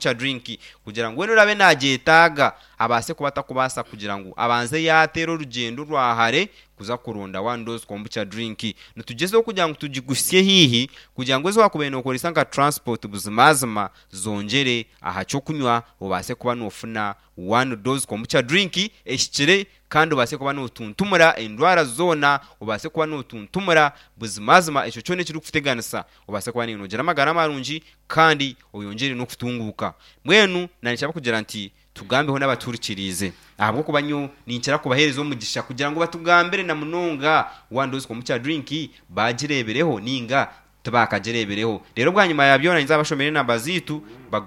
Kombucha drink kugira ngu weena oraabe naagyetaaga abaase kuba atakubaasa kugira ngu abanze yaateera orugyendo rwa hare kuza kuronda One Dose Kombucha Drink. Nitugyezaho kugira ngu tugiguhitsye haihi kugira ngu ezi waakubaire nookoresa nka transport buzimazima zongyere aha ky'okunywa obaase kuba noofuna One Dose Kombucha Drink ehikire kandi obaase kuba nootuntumura endwara zoona, obaase kuba nootuntumura buzimazima ekyo kyona ekirikukuteganisa obaase kuba noogira amagara marungi kandi oyongyere n'okutunguuka. Mbwenu naanye kugira nti tugambeho n'abatuhurikiriize ahabw'okuba nyowe ninkira kubaheereza omugisha kugira ngu batugambire na munonga One Dose Kombucha Drink baagireebireho nainga tibaakagireebireho. Reero bwanyima ya byona ninza bashomere enamba zaitu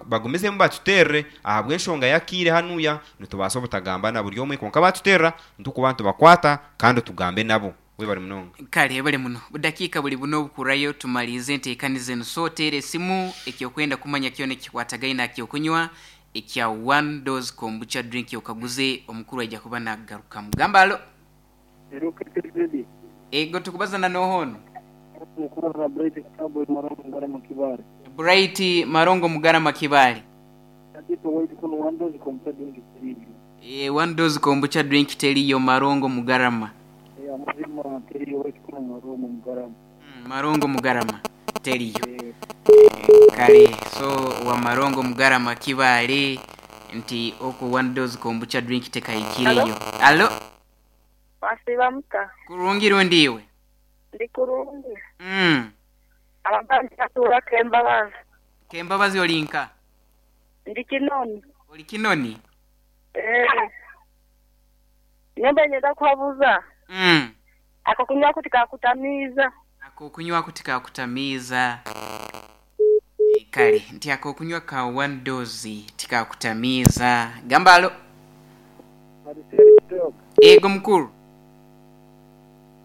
bagumizemu batuteerere ahabw'enshonga y'akaire hanuya nitubaasa obutagamba na buri omwe kwonka baatuteerera nitukuba nitubakwata kandi tugambe nabo. Webare munonga. Kale ebale muno. Budakiika buli buna obukurayo tumaliize enteekaniza enu. So teera esimu ekyokwenda kumanya kyona ekikwatagaine aha kyokunywa ekya One Dose Kombucha Drink okaguze omukuru aija kuba nakugarukamu. Gamba alo. Hello KTZ. Ego tukubaza na noha onu? Nikubaza na Bright Cowboy Marongo Mugarama Kibaale. Bright Marongo Mugarama Kibaale. Ati owaitu kunu One Dose Kombucha Drink teriyo. Eeh One Dose Kombucha Drink teriyo Marongo Mugarama. Eeh amazima teriyo owaitu kunu Marongo Mugarama. Marongo Mugarama teriyo. Eeh. Kale so wa Marongo Mugarama Kibaale nti okwo One Dose Kombucha Drink tekahikireyo. Allo. Mwasiiba muta? Kurungi rundi iwe? Ndi kurungi. Abandi batuura Kembabazi. Kembabazi oli nka? Ndi Kinoni. Oli Kinoni? Eeh. Nyowe mbaire niinyenda kuhabuza. Ak'okunywaku tikakutamiiza. Ak'okunywaku tikakutamiiza. Kale nti ak'okunywa ka one dose tikakutamiiza. Gamba alo. Marcel Kitoga. Yego mukulu.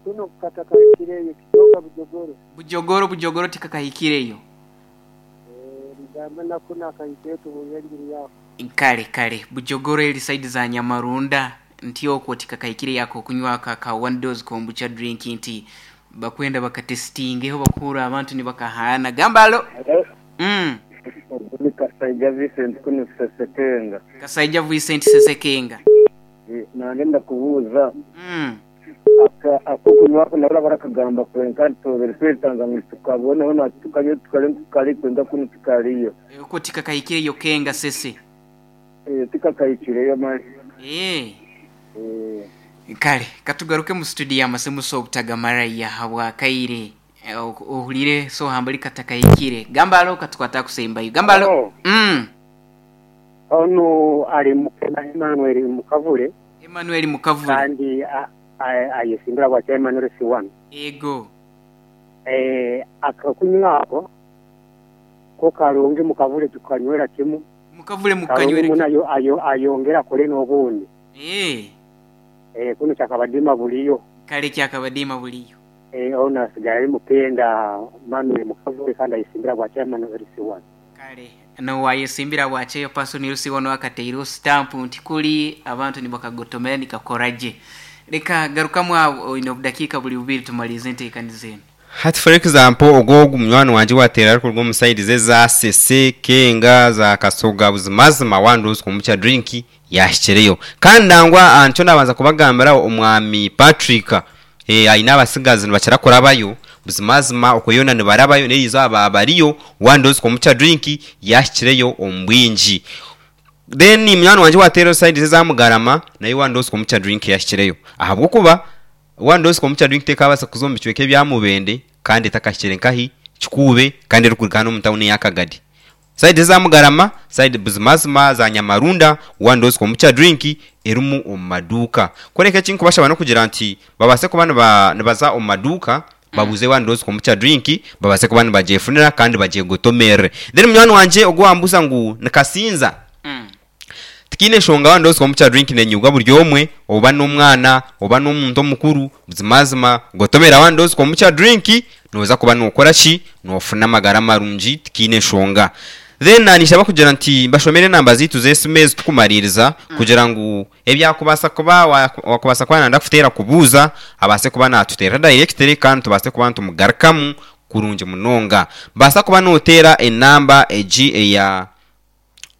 Kuno katakahikireyo Kitoga Bujogoro. Bujogoro Bujogoro tikakahikireyo. Eeh mugambe na kunu akahikeyo tuhurire enjiri yako. Kale kale Bujogoro eri side za Nyamarunda nti okwo tikakahikireyo ak'okunywa ako aka one dose kombucha drink nti bakwenda bakatesitingeho bakuhurra abantu nibakahaana. Gamba alo. Mm. Ogu ni Kasaija Vincent kunu Sesekenga. Kasaija Vincent Sesekenga. Nanye ndakubuuza akokunywa ako nabo barakagamba kwenka ntobere twetanza ngu tukaboneho natwe tukanywe tukare ngu kari kwenka kunu tikariyo. Okwo tikakahikireyo Kenga Sese. Tikakahikireyo mali. Kale katugaruke mu studio amasimu so obutagamara habwakaire ohulire so hambali katakahikire. Gamba alo katukwate akusembayo. Gamba alo. Onu ali Mukena Emmanuel Mukavule. Emmanuel Mukavule. Kandi ayesimbira bwa chairman LC1. Ego. Akakunywa ako ko kalungi Mukavule tukanywera kimu. Mukavule mukanywera kimu. Kalungi muno ayongere akole n'obundi. Kunu kyakabadiima buliyo. Kale kyakabadiima buliyo. Ono asigala ali Mukenda Emmanuel Mukavule kandi ayesimbira bwa chairman LC1. Kale n'owayesimbira bwa chairperson LC1 akataireho sitampu nti kuli abantu nibakagotomera nikakora gye. Leka garukamu agho oine obudakiika buli bubiri tumaliize enteekaniza eno. Hati for example ogwo ogu munywani wangye owateera arikuruga omu side ze eza Sese, Kenga, za Kasoga buzimazima wandozi kombucha drink yaahikireyo. Kandi nangwa nikyo naabanza kubagambira omwami Patrick aine abatsigazi nibakira kurabayo buzimazima okwo yoona nibarabayo n'erizooba baaba bariyo wandozi kombucha drink yaahikireyo omu bwingi. Then munywani wangye owateera side ze eza Mugarama nayo wandozi kombucha drink yaahikireyo ahabw'okuba One dose kombucha drink tekaabaasa kuza omu bicweka ebya Mubende kandi etakahikire nkahi Kikuube kandi erikuruga hanu omu tawuni eya Kagadi. Sayidi eza Mugarama, sayidi buzimazima za Nyamarunda, one dose kombucha drink erimu omu maduuka. Kworeka eki nkubashaba n'okugira nti babaase kuba nibaza omu maduuka babuuze one dose kombucha drink babaase kuba nibagyefunira kandi bagyegotomerere. Then munywani wangye ogu owambuuza ngu ni Kasinza. Tikiine nshonga waaba nooza omu kya drink nenyibwa buri omwe, oba n'omwana oba n'omuntu omukuru, buzimazima gotomera waaba nooza omu kya drink nooza kuba nookora ki? Noofuna amagara marungi tikiine nshonga. Then naanyija kugira nti mbashomere enamba zaitu z'esimu ezi tukumariiriza kugira ngu ebyakubaasa kuba waakubaasa kuba naayenda kututeera kubuuza abaase kuba naatuteerera directly kandi tubaase kuba nitumugarukamu kurungi munonga. Baasa kuba nooteera enamba egi eya.